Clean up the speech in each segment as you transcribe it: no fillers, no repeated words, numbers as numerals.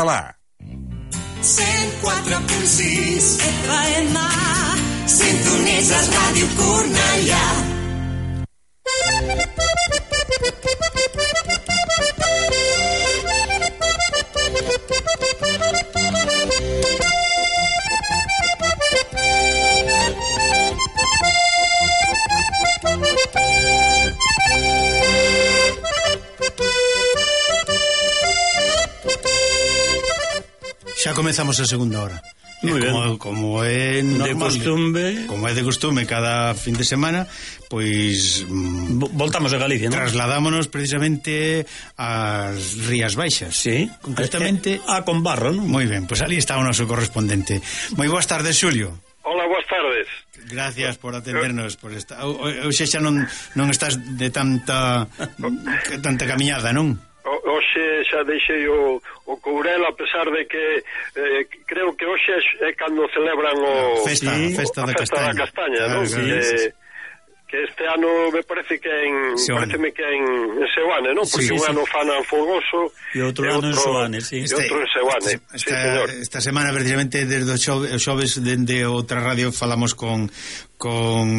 Alá. 104.6 FM, sintonitzes Ràdio Cornellà. Xa comezamos a segunda hora. Como é normal, como é de costume cada fin de semana, pois voltamos a Galicia, non? Trasladámonos precisamente ás Rías Baixas. Sí, concretamente a Combarro, non? Moi ben, pois ali está o noso correspondente. Moi boas tardes, Xulio. Hola, boas tardes. Gracias por atendernos por esta. Hoxe xa non estás de tanta camiñada, non? Hoxe xa deixei o Courel, a pesar de que creo que hoxe é cando celebran a festa da castaña, non? Que este ano me parece que é en Seoane, non? Porque un ano fan en Folgoso e outro ano en Seoane, sí. E outro en Seoane. Esta semana, precisamente, desde o xoves, dende outra radio, falamos con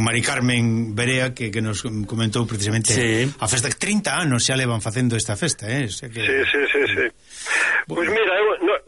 Mari Carmen Berea, que nos comentou precisamente a festa. 30 anos xa levan facendo esta festa, Sí. Pois mira,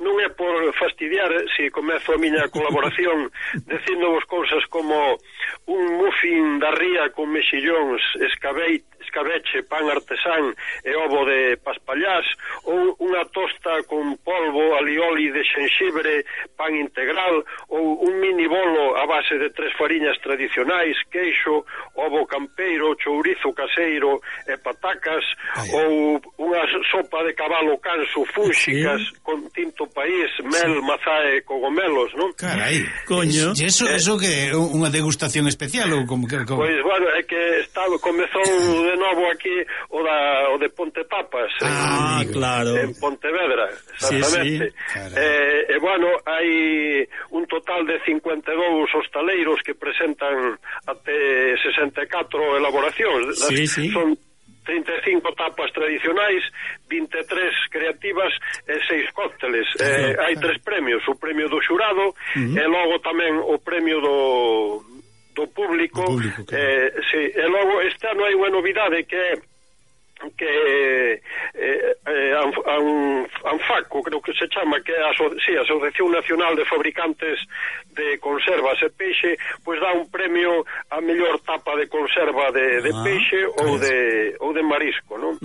non é por fastidiar, se comezo a miña colaboración dicindovos cousas como un muffin da ría con mexillóns, escabeche, pan artesán e ovo de paspallás, ou unha tosta con polvo, alioli de xenxibre, pan integral, ou un mini bolo a base de 3 fariñas tradicionais, queixo, ovo campeiro, chourizo caseiro e patacas, ou unha sopa de cabalo canso fúnxicas con tinto país, mel, mazá e cogomelos, non? Carai, coño. E eso que é unha degustación especial ou como? Pois, bueno, é que comezou de novo aquí o de Ponte Tapas, claro, en Pontevedra, exactamente. E bueno, hai un total de 52 hostaleiros que presentan até 64 elaboracións. Son 35 tapas tradicionais, 23 creativas e 6 cócteles. Hai 3 premios, o premio do xurado e logo tamén o premio do público, e logo este ano hai unha novidade que ANFACO, creo que se chama, que é a Asociación Nacional de Fabricantes de Conservas e Peixe, pois dá un premio a mellor tapa de conserva de peixe ou de marisco, non?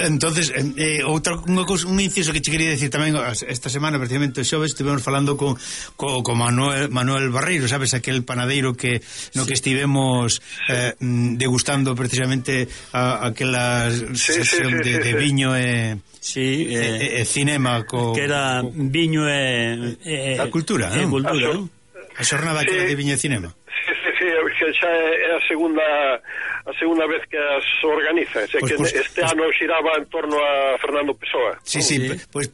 Entonces, un inciso que che quería decir tamén, esta semana precisamente o xoves estivemos falando con Manuel Barreiro, sabes, aquel panadeiro que estivemos degustando precisamente aquela sección de viño e cinema que era viño e a cultura, non? A xornada que de viño e cinema. Sí, que xa é a segunda vez que as organiza, que este ano xiraba en torno a Fernando Pessoa. Pois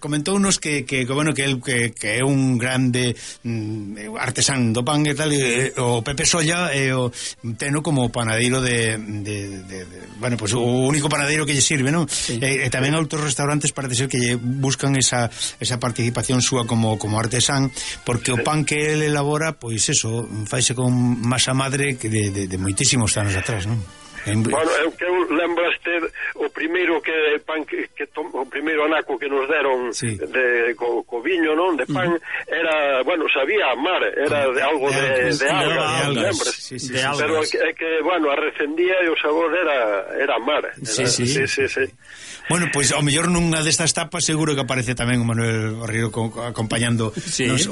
comentounos que é un grande artesán do pan e tal, o Pepe Solla e o teno como panadeiro bueno, pois o único panadeiro que lle sirve, non? E tamén outros restaurantes parece ser que lle buscan esa participación súa como artesán, porque o pan que ele elabora, pois eso, faise con masa madre que de moitísimos anos atrás, non? Bueno, que eu lembraste o primeiro o primeiro anaco que nos deron co viño, non, de pan, era, bueno, sabía a mar, era de algo de algas, pero é que, bueno, a recendía e o sabor era mar. Bueno, pois ao mellor nunha destas tapas seguro que aparece tamén o Manuel Barreiro acompañando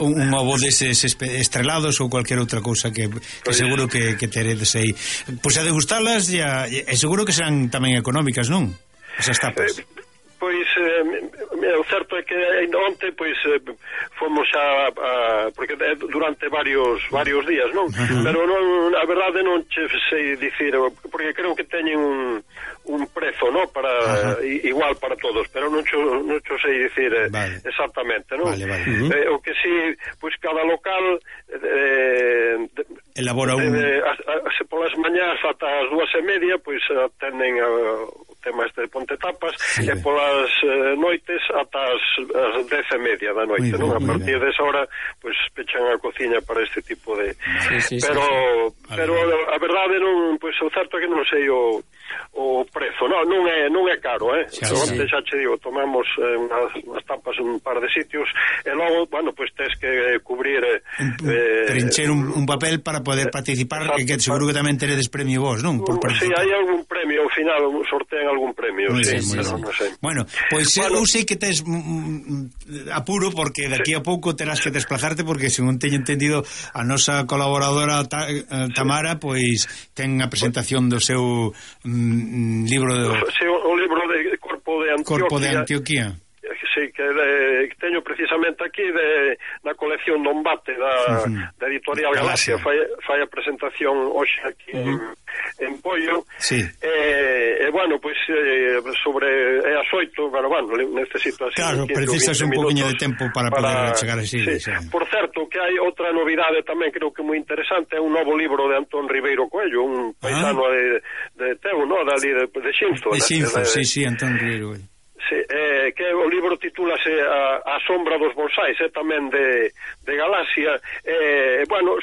un ovo deses estrelados ou cualquier outra cousa que seguro que teredes aí. Pois a degustalas e seguro que serán tamén económicas, non? Esas tapas. Pois o certo é que onte pois fomos porque durante varios días, non? Pero non, a verdade non che sei dicir, porque creo que teñen un prezo, non? Para igual para todos, pero non cho sei dicir exactamente, non? O que si, pois cada local elabora un... Se polas mañás ata as 2:30, pois atenden tema este de Pontetapas, e polas noites ata as 10:30 da noite, non? A partir desa hora, pois pechan a cociña para este tipo de... Pero a verdade non, pois o certo é que non sei o prezo, non é caro, onte xa che digo, tomamos unhas tapas en un par de sitios, e logo, bueno, pois tes que cubrir... trincher un papel para poder participar, que seguro que tamén teredes premio vos, non? Sí, hai algún premio, ao final sortean algún premio, sí, pero non sei. Bueno, pois eu sei que tes apuro, porque daqui a pouco terás que desplazarte, porque según teño entendido, a nosa colaboradora Tamara, pois ten a presentación do seu libro de... Sí, o libro de Corpo de Antioquía. Sí, que teño precisamente aquí na colección do Embate da editorial Galaxia. Fai a presentación hoxe aquí en Pollo. Bueno, pois sobre as 8, pero bueno, necesito así. Claro, precisas un poquinho de tempo para poder chegar así. Por certo, que hai outra novidade tamén, creo que moi interesante, é un novo libro de Antón Ribeiro Coello, un paisano de Teu, non? Dali de Xinzo. De Xinzo, sí, Antón Ribeiro Coello. Sí, que o libro titúlase A sombra dos bonsais, tamén de Galaxia. Bueno,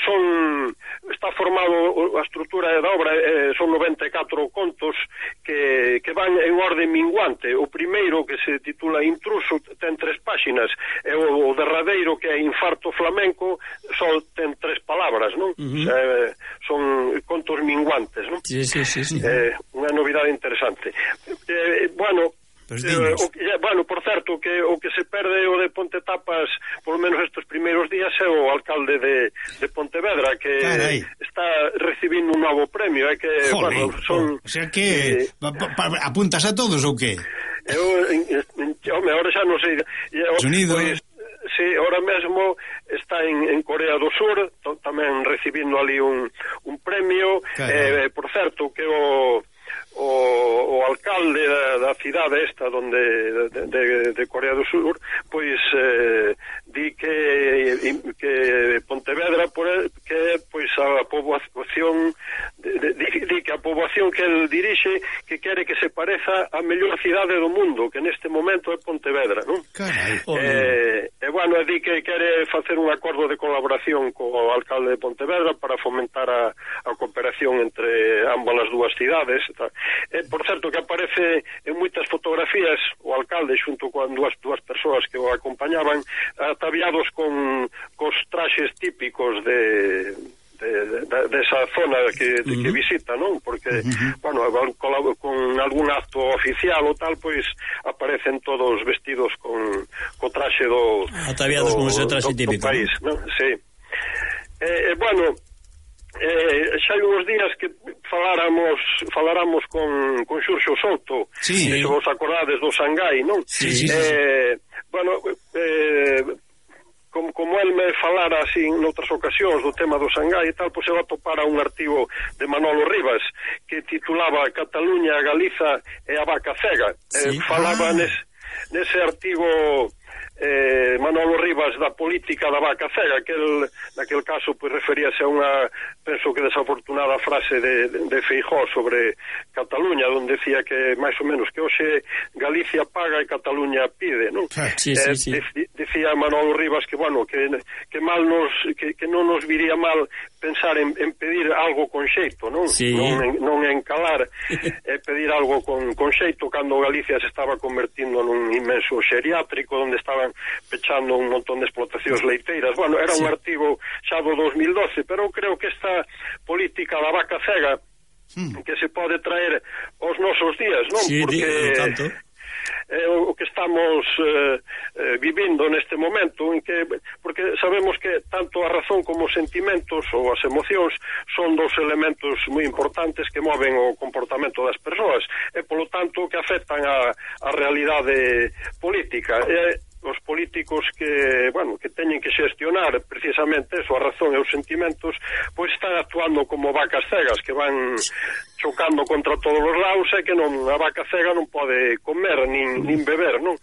está formado, a estrutura da obra son 94 contos que van en orden minguante. O primeiro, que se titula Intruso, ten 3 páxinas, e o derradeiro, que é Infarto flamenco, só ten 3 palabras, non? Son contos minguantes, non? Sí. Unha novidade interesante. Bueno, por certo, que o que se perde o de Pontetapas, por lo menos estes primeiros días, é o alcalde de Pontevedra, que está recibindo un novo premio. Que, bueno, son... O sea que apuntas a todos ou que? Ahora xa non sei. Unidos. Sí, ahora mesmo está en Corea do Sur, tamén recibindo ali un premio. Por certo, que o alcalde da cidade esta de Corea do Sur, pois di que Pontevedra, que pois a poboación di que a poboación que el dirixe, que quere que se pareza a mellor cidade do mundo, que neste momento é Pontevedra, non? Bueno, di que quere facer un acordo de colaboración co alcalde de Pontevedra para fomentar a cooperación entre ambas as dúas cidades. Por certo, que aparece en moitas fotografías o alcalde xunto con dúas persoas que o acompañaban, ataviados cos traxes típicos desa zona que visita, non? Porque, bueno, con algún acto oficial ou tal, pois aparecen todos vestidos co traxe ataviados con ese traxe típico do país, non? Sí. Bueno, xa hai uns días que faláramos con Xurxo Souto, se vos acordades do Shanghai, non? Bueno, como el me falara así en outras ocasións do tema do Shanghai e tal, pois eu atopara un artigo de Manolo Rivas que titulaba Cataluña, Galiza e a vaca cega. Falaba nese artigo Manolo Rivas da política da vaca cega, que naquel caso pois referíase a unha, penso que desafortunada frase de Feijóo sobre Cataluña, onde decía que máis ou menos que hoxe Galicia paga e Cataluña pide, non? Dicía Manolo Rivas que, bueno, que mal que non nos viría mal pensar en pedir algo con xeito, non? Non en calar, pedir algo con xeito, cando Galicia se estaba convertindo nun inmenso xeriátrico onde estaban pechando un montón de explotacións leiteiras. Bueno, era un artigo xa do 2012, pero creo que esta política da vaca cega que se pode traer aos nosos días, non? Porque o que estamos vivindo neste momento, porque sabemos que tanto a razón como os sentimentos ou as emocións son dos elementos moi importantes que moven o comportamento das persoas e, polo tanto, que afectan a realidade política. Os políticos que teñen que xestionar precisamente eso, a razón e os sentimentos, pois están actuando como vacas cegas que van chocando contra todos os lados e que a vaca cega non pode comer nin beber, non?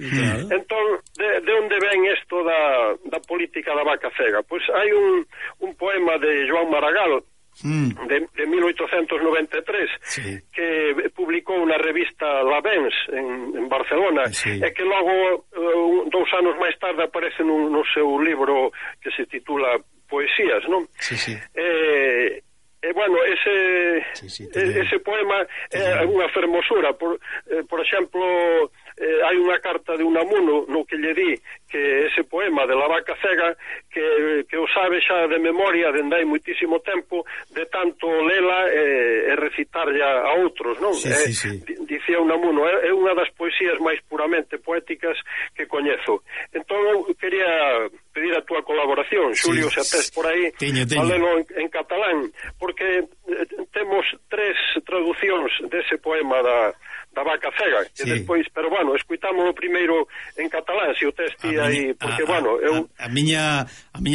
Entón, de onde ven isto da política da vaca cega? Pois hai un poema de Joan Maragall de 1893, sí, que publicou na revista La Vens en Barcelona, sí, e que logo 2 anos máis tarde aparece no seu libro que se titula Poesías, non? Sí, sí. Bueno, ese poema é unha fermosura. Por exemplo, hai unha carta de Unamuno no que lle di que ese poema de La vaca cega que o sabe xa de memoria dende hai muitísimo tempo, de tanto lela e recitarlla a outros, non? Sí. Dicía Unamuno, é unha das poesías máis puramente poéticas que coñezo. Entón eu quería pedir a túa colaboración, Xulio, se atés por aí, falelo en catalán, porque temos 3 traducións dese poema da vaca cega, que despois, pero bueno, escuitámoslo primeiro en catalán, se o testi aí, porque bueno, eu... A miña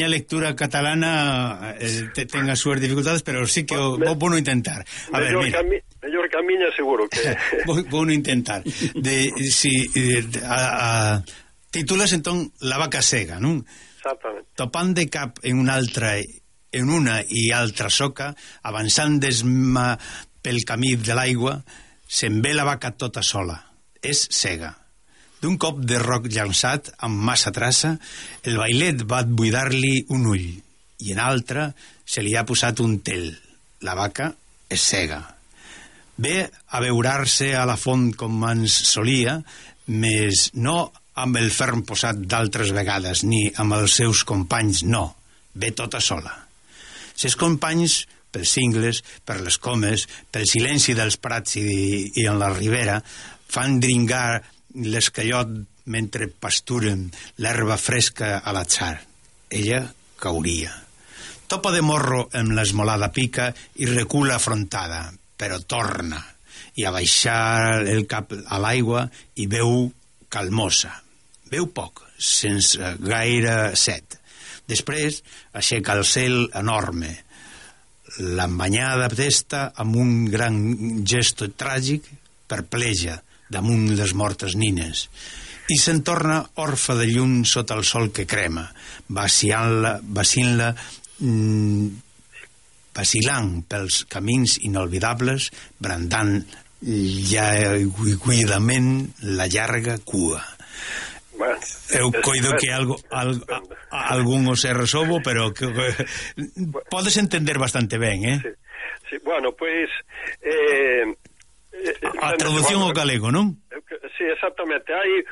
lectura catalana ten as súas dificultades, pero sí que vou no intentar. A ver, mira. Mellor que a miña, seguro que... vou no intentar. Titulas entón La vaca cega, non? Exactamente. Topant de cap en una i altra soca, avançant pel camí de l'aigua, se'n ve la vaca tota sola. És cega. D'un cop de roc llançat amb massa traça, el bailet va buidar-li un ull, i en altre se li ha posat un tel. La vaca és cega. Ve a beurar-se a la font com ens solia, més no amb el ferm posat d'altres vegades, ni amb els seus companys, no. Ve tota sola. Ses companys, pels cingles, per les comes, pel silenci dels prats i en la ribera, fan dringar l'escallot mentre pasturen l'herba fresca a l'atzar. Ella cauria. Topa de morro amb l'esmolada pica i recula afrontada, però torna, i a baixar el cap a l'aigua i veu calmosa. Veu poc, sense gaire set. Després aixeca el cel enorme, l'embanyada testa amb un gran gesto tràgic, perpleja damunt les mortes nines, i se'n torna orfa de llum sota el sol que crema, vacilant pels camins inolvidables, brandant llarguidament la llarga cua. Bueno, eu coido que algún o se resolvo, pero que podes entender bastante ben, Sí, bueno, pois a traducción ao galego, non? Sí, exactamente. Hai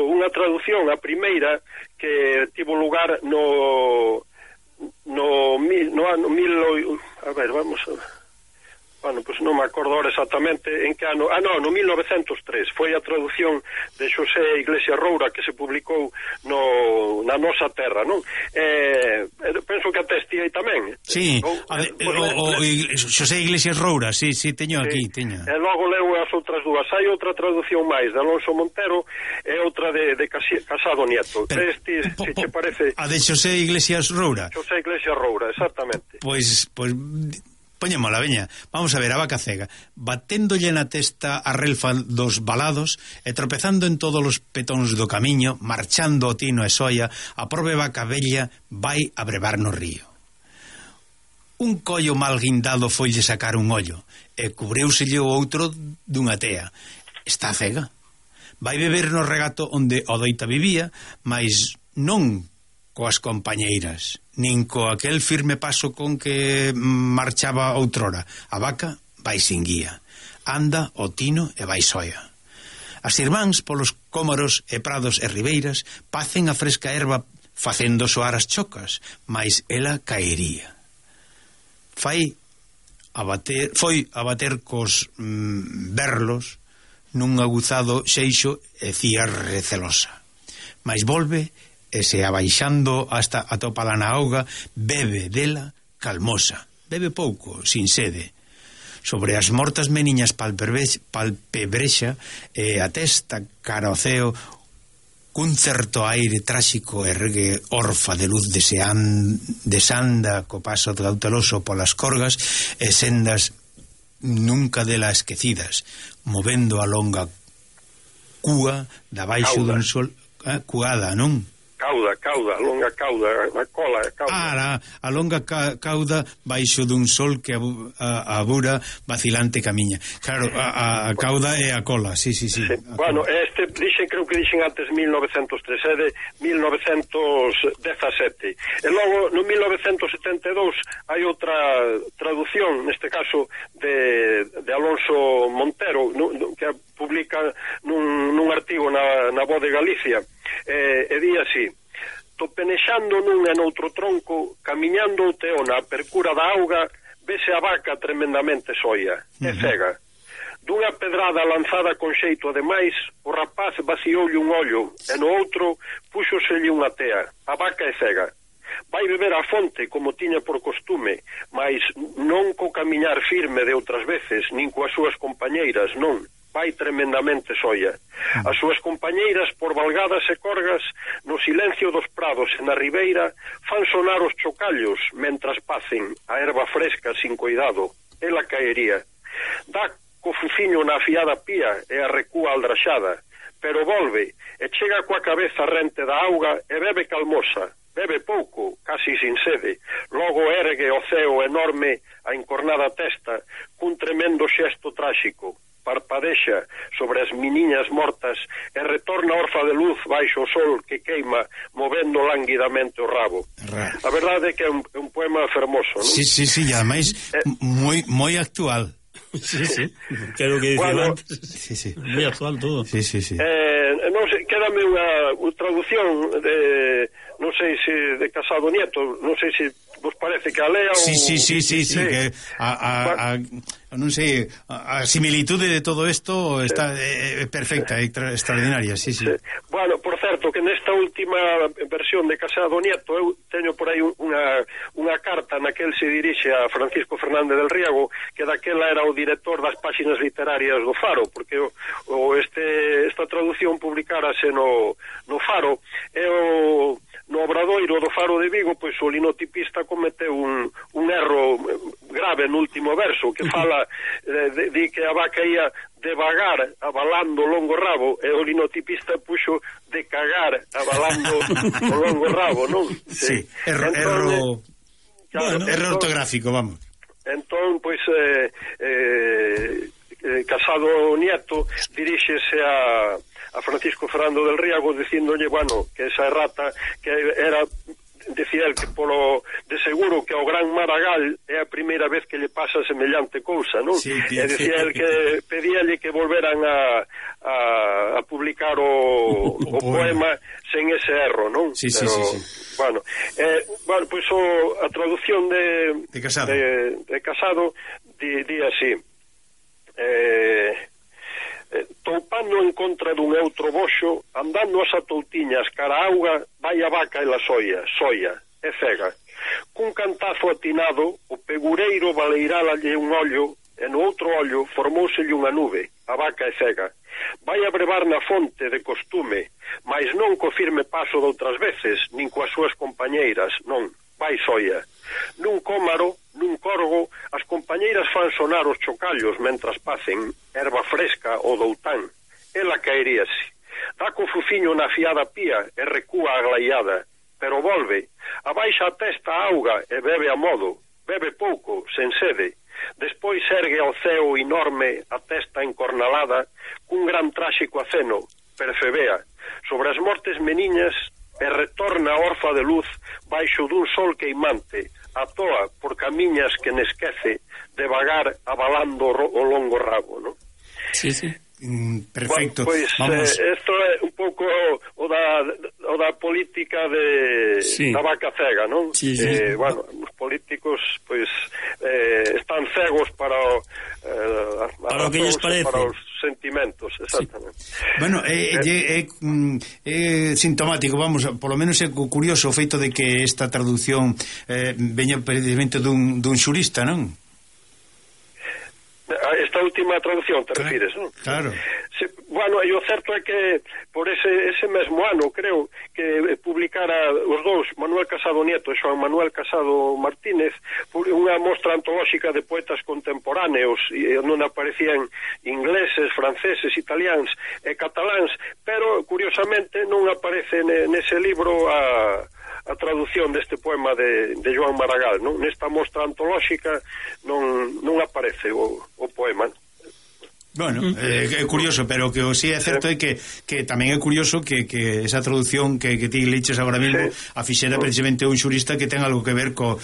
unha traducción, a primeira, que tivo lugar no ano 1000, a ver, vamos a ver. Bueno, pois non me acordo ahora exactamente en que ano. No 1903 foi a traducción de Xosé Iglesias Roura que se publicou na nosa terra, non? Penso que atesti aí tamén. Sí, Xosé Iglesias Roura, sí, teño aquí, teño. E logo leo as outras dúas. Hai outra traducción máis de Alonso Montero e outra de Casado Nieto. Se te parece... A de Xosé Iglesias Roura. Xosé Iglesias Roura, exactamente. Pois poñémola, veña, vamos a ver, a vaca cega, baténdolle na testa a relfa dos balados e tropezando en todos os petóns do camiño, marchando o tino e soia, a prove vaca bella vai a brevar no río. Un collo mal guindado foille sacar un ollo e cubreuselle o outro dunha tea. Está cega. Vai beber no regato onde o doita vivía, mas non coas compañeiras, nin co aquel firme paso con que marchaba outrora. A vaca vai sin guía, anda o tino e vai soia. As irmáns polos cómoros e prados e ribeiras pacen a fresca erva facendo soar as chocas, mais ela caería. Foi a bater cos berlos nun aguzado xeixo e cía recelosa, mais volve e se abaixando hasta atopala na auga, bebe dela calmosa, bebe pouco, sin sede. Sobre as mortas meniñas palpebrexa e a testa cara ao ceo, cun certo aire tráxico ergue orfa de luz desanda co paso cauteloso polas corgas e sendas nunca dela esquecidas, movendo a longa cúa da baixo dun sol, cuada, non? Cauda, cauda, a cola, a cauda. A longa cauda baixo dun sol que a bura vacilante camiña. Claro, a cauda é a cola, sí. Bueno, creo que dixen antes 1903, é de 1917. E logo, no 1972, hai outra traducción, neste caso, de Alonso Montero, que publica nun artigo na Voz de Galicia, e di así: topenexando nun e noutro tronco, camiñando o teona a percura da auga, vese a vaca tremendamente soia, e cega. Dunha pedrada lanzada con xeito ademais, o rapaz vacioulle un ollo, e no outro púxoselle unha tea. A vaca é cega. Vai beber a fonte como tiña por costume, mas non co camiñar firme de outras veces, nin coas súas compañeiras, non. Vai tremendamente soia. As súas compañeiras, por valgadas e corgas, no silencio dos prados e na ribeira, fan sonar os chocallos, mentras pacen a erva fresca sin cuidado. Ela caería. Dá co fuciño na afiada pía e a recúa aldraxada, pero volve e chega coa cabeza rente da auga e bebe calmosa, bebe pouco, casi sin sede, logo ergue o ceo enorme a encornada testa cun tremendo xesto tráxico, parpadexa sobre as meniñas mortas e retorna orfa de luz baixo o sol que queima movendo languidamente o rabo. A verdade é que é un poema fermoso, non? Sí, e ademais moi actual. Sí. Creo que dicía antes. Sí. Moi actual todo. Sí. Non sei, quédame unha traducción de, non sei se de Casado Nieto, non sei se vos parece que a lea ou... Sí, que non sei, a similitude de todo isto está perfecta, extraordinaria, sí. Bueno, por certo, que nesta última versión de Casado Nieto eu teño por aí unha carta na que el se dirixe a Francisco Fernández del Riego, que daquela era o director das páxinas literarias do Faro, porque esta traducción publicárase no Faro, e no Obradoiro do Faro de Vigo, pois o linotipista cometeu un erro grave no último verso, que fala di que a vaca ia devagar abalando o longo rabo, e o linotipista puxo de cagar abalando o longo rabo, non? Sí, erro ortográfico, vamos. Entón, pois Casado Nieto diríxese a Francisco Fernando del Riego dicíndolle, bueno, que esa errata que era, decía el que de seguro que ao gran Maragall é a primeira vez que lle pasa semellante cousa, non? Sí, e decía el que pedíalle que volveran a publicar o poema sen ese erro, non? Sí. Bueno, pois a traducción de Casado di así: toupando en contra dun outro boxo, andando as atoutiñas cara a auga, vai a vaca e la soia, é cega. Cun cantazo atinado, o pegureiro baleiralalle un ollo, e no outro ollo formouselle unha nube, a vaca é cega. Vai a brevar na fonte de costume, mas non co firme paso de outras veces, nin coas súas compañeiras, non, vai soia. Nun cómaro, nun corgo, as compañeiras fan sonar os chocallos mentras pacen erva fresca ou doután. Ela caeríase. Dá co fuciño na afiada pía e recúa aglaiada, pero volve, abaixa a testa a auga e bebe a modo, bebe pouco, sen sede. Despois ergue ao ceo enorme a testa encornalada cun gran tráxico aceno, percebea, sobre as mortes meniñas e retorna a orfa de luz baixo dun sol queimante, a toa por camiñas que nesquece, devagar abalando o longo rabo, non? Sí. Perfecto. Bueno, pois isto é un pouco o da política da vaca cega, non? Sí. Bueno, os políticos pois están cegos para o que lles parece, para os sentimentos, exactamente. Sí. Bueno, é sintomático, vamos, polo menos é curioso o feito de que esta traducción veña precisamente dun xurista, non? esta última traducción te refires, non? Claro. Sí, bueno, e o certo é que por ese mesmo ano, creo, que publicara os dous, Manuel Casado Nieto e Xoán Manuel Casado Martínez, unha mostra antolóxica de poetas contemporáneos, e non aparecían ingleses, franceses, italiáns e cataláns, pero, curiosamente, non aparece nese libro a traducción deste poema de Joan Maragall, non? Nesta mostra antolóxica non aparece o poema. Bueno, é curioso, pero que o sí é certo é que tamén é curioso que esa traducción que ti leiches agora mesmo a fixera precisamente un xurista que ten algo que ver coa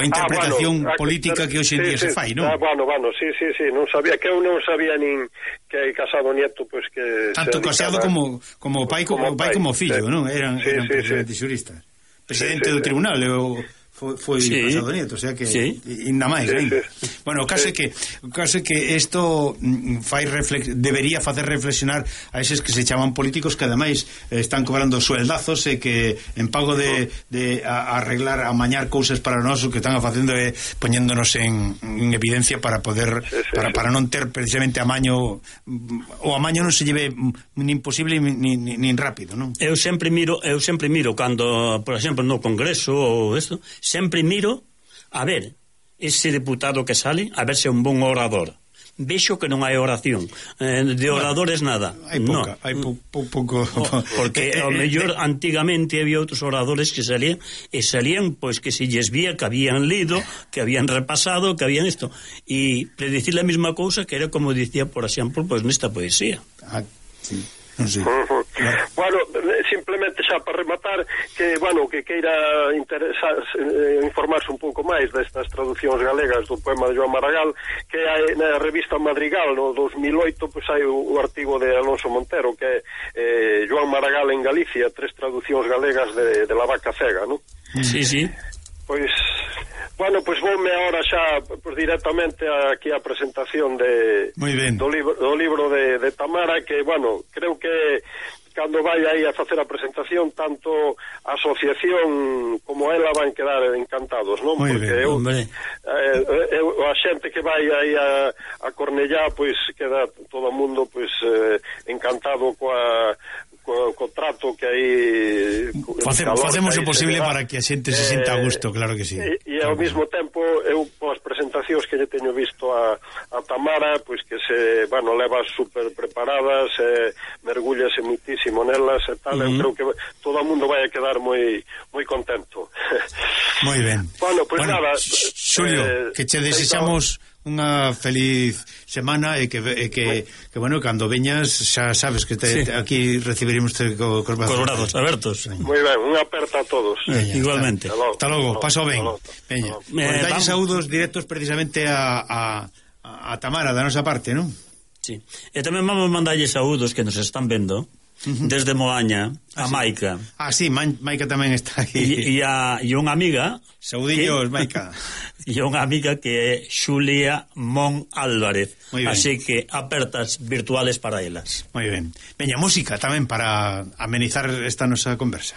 interpretación política que hoxe en día se fai, non? Bueno, sí, non sabía, que eu non sabía nin que Casado Nieto, pois que tanto Casado como pai como fillo, non? Eran precisamente xuristas. Presidente do tribunal, foi Casado Nieto, o sea que ainda máis, Bueno, o caso é que isto debería facer reflexionar a eses que se chaman políticos que ademais están cobrando sueldazos e que en pago de arreglar, amañar cousas para nós, o que están facendo é poñéndonos en evidencia para poder para non ter precisamente amaño. O amaño non se lleve nin posible nin rápido, non? Eu sempre miro cando, por exemplo, no Congreso ou isto, sempre miro a ver ese deputado que sale, a ver se é un bon orador. Vexo que non hai oración, de oradores nada. Hai pouca, hai pouco. Porque ao mellor antigamente había outros oradores que salían pois que se lles vía que habían lido, que habían repasado, que habían isto, e predicir a mesma cousa que era como dicía, por exemplo, pois nesta poesía. Sí. Non sei. Bueno, simplemente xa para rematar que, que queira informarse un pouco máis destas traduccións galegas do poema de Joan Maragall, que hai na revista Madrigal no 2008, pois hai o artigo de Alonso Montero que é Joan Maragall en Galicia, 3 traducións galegas de La Vaca Cega, non? Sí. Pois voume agora xa directamente aquí a presentación do libro de Tamara, que, creo que cando vai aí a facer a presentación, tanto a asociación como ela van quedar encantados, non? Porque a xente que vai aí a Cornellá, pois queda todo o mundo encantado co trato que aí facemos o posible para que a xente se sinta a gusto, claro que sí. E ao mesmo tempo eu polas presentacións que lle teño visto a Tamara, pois que se, leva super preparadas, mergúllase muitísimo nelas e tal, eu creo que todo o mundo vai a quedar moi contento. Moi ben. Nada, Xulio, que che desexamos unha feliz semana e que cando veñas xa sabes que aquí recibiremos cos brazos abertos. Moi ben, unha aperta a todos. Igualmente. Hasta logo, paso ben. Veña, dalle saúdos directos precisamente a Tamara da nosa parte, non? Sí. E tamén vamos mandarlle saúdos que nos están vendo desde Moaña a Maica. Sí, Maica tamén está aquí. E unha amiga, saudillos, Maica. E unha amiga que é Xulia Mon Álvarez. Así que apertas virtuales para elas. Moi ben. Veña, música tamén para amenizar esta nosa conversa.